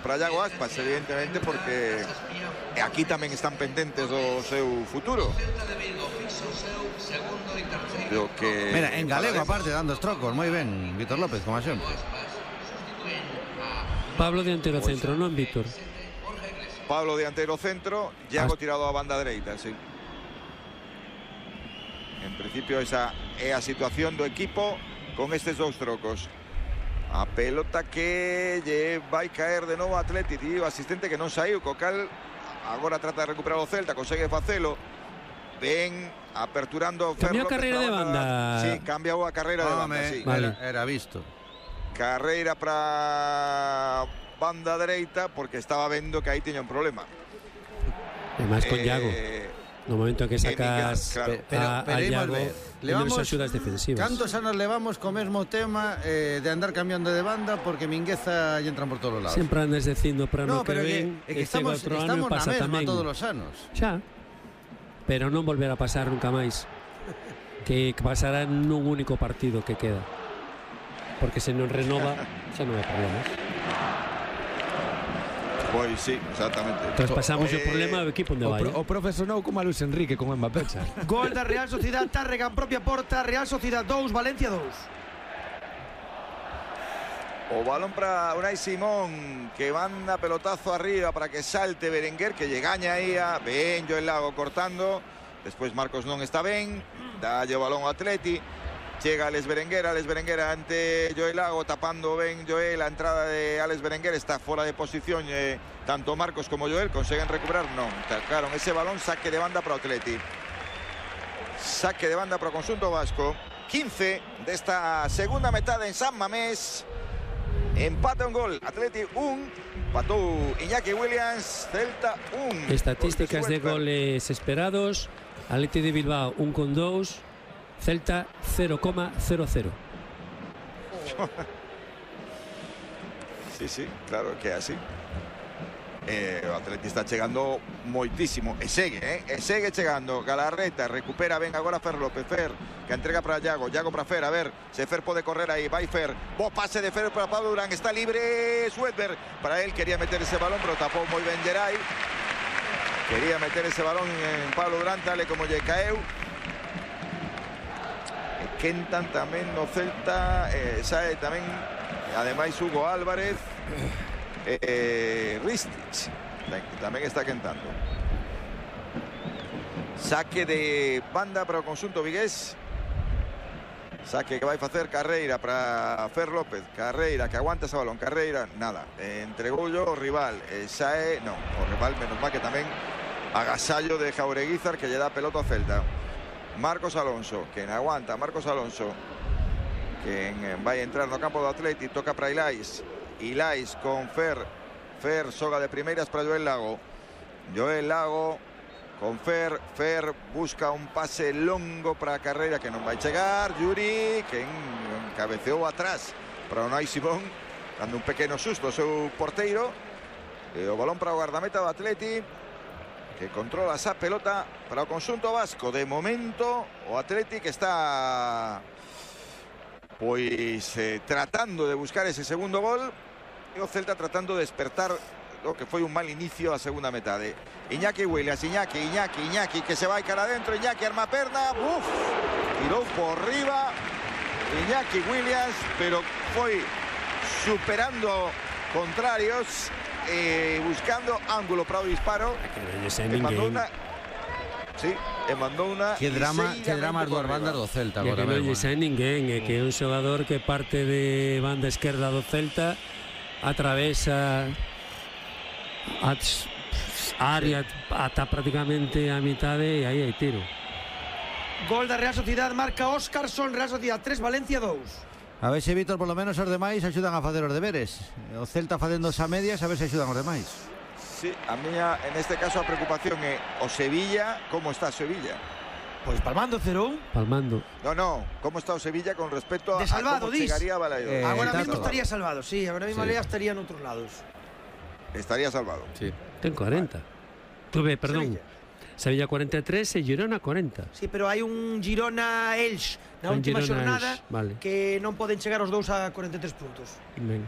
para Iago Aspas, evidentemente, porque aquí tamén están pendentes do seu futuro. Mira, en galego aparte dando os trocos, moi ben, Víctor López, como sempre. Pablo dianteiro centro, non Víctor. Pablo dianteiro centro, Iago tirado a banda dereita, sí. En principio esa é a situación do equipo con estes dous trocos. A pelota que lle vai caer de novo a Atleti, tío, asistente que non saiu, co cal agora trata de recuperar o Celta, consegue facelo. Ven aperturando Cambiou a carreira de banda. Sí, cambiou a carreira de banda, sí. Vale. Era visto. Carreira para banda dereita porque estaba vendo que aí tiña un problema. E máis con Iago. No momento en que sacas claro. a Iago, levamos axudas defensivas. Cantos anos levamos co mesmo tema de andar cambiando de banda porque Mingueza lle entran por todos os lados. Sempre andas dicindo para no que pero ven, que estamos na mesma todos os anos. Xa. Pero non volverá a pasar nunca máis. Que pasará nun único partido que queda. Porque se non renova, xa non hai problemas. Pois sí, exactamente. Traspasamos o problema ao equipo onde vai. O profesor non como a Luis Enrique con Mbappé. Gol da Real Sociedad, Tárrega en propia porta, Real Sociedad 2, Valencia 2. O balón para Unai Simón, que manda pelotazo arriba para que salte Berenguer, que lle gaña aí a ben Joel Lago cortando. Despois Marcos non está ben, dalle o balón ao Atleti. Chega Alex Berenguer ante Joel Lago, tapando ben Joel. A entrada de Alex Berenguer está fora de posición, tanto Marcos como Joel conseguen recuperar, non, tacaron ese balón. Saque de banda para o Atleti, saque de banda para o conxunto vasco. 15 desta segunda metade en San Mamés. Empata un gol, Atleti 1, empatou Iñaki Williams, Celta 1. Estatísticas de goles esperados: Atleti de Bilbao 1,2, Celta 0,00. Sí, claro que é así. O Atleti está chegando moitísimo e segue chegando. Galarreta recupera ben agora Fer López, Fer que entrega para Iago para Fer, a ver se Fer pode correr aí, vai Fer, bo pase de Fer para Pablo Durán, está libre Sweatberg, para él quería meter ese balón pero tapou moi ben Geray, quería meter ese balón en Pablo Durán, tal como lle caeu. Quentan tamén no Celta, sae tamén ademais Hugo Álvarez, Ristich tamén está quentando. Saque de banda para o conxunto vigués. Saque que vai facer Carreira para Fer López. Carreira que aguanta ese balón. Carreira, nada, entregou o rival. Sae, non, o rival menos mal que tamén agasallo de Jaureguizar que lle dá pelota ao Celta. Marcos Alonso, que aguanta, Marcos Alonso, que vai entrar no campo do Atleti, toca para Ilais con Fer, soga de primeiras para Joel Lago con Fer busca un pase longo para Carreira que non vai chegar, Yuri que encabeceou atrás para Unai Simón, dando un pequeno susto ao seu porteiro, e o balón para o guardameta do Atleti, que controla esa pelota para o conxunto vasco. De momento o Atleti que está pois tratando de buscar ese segundo gol, e o Celta tratando de despertar lo que foi un mal inicio a segunda metade. Iñaki Williams, Iñaki que se vai cara adentro, Iñaki arma perna, tirou por riba Iñaki Williams, pero foi superando contrarios, buscando ángulo para o disparo. Mandou unha. Que drama as dúas bandas do Celta agora. Que non lle sae ninguén, que é un xogador que parte de banda esquerda do Celta, atravesa a área ata prácticamente a mitade e aí hai tiro. Gol da Real Sociedad, marca Óscarson, Real Sociedad 3, Valencia 2. A ver se Víctor, polo menos os demais axudan a facer os deberes. O Celta facendo a medias, a ver se axudan os demais. Sí, a miña, en este caso, a preocupación é o Sevilla. Como está Sevilla? Pois palmando 0-1. Palmando. No, como está o Sevilla con respecto a salvado, como chegaría a Balaídos. Agora mesmo estaría salvado, sí, agora mesmo estaría en outros lados. Estaría salvado. Sí. Ten 40. Tuve, perdón. Sevilla 43 e Girona 40. Sí, pero hai un Girona-Elx na última xornada, que non poden chegar os dous a 43 puntos. Ben.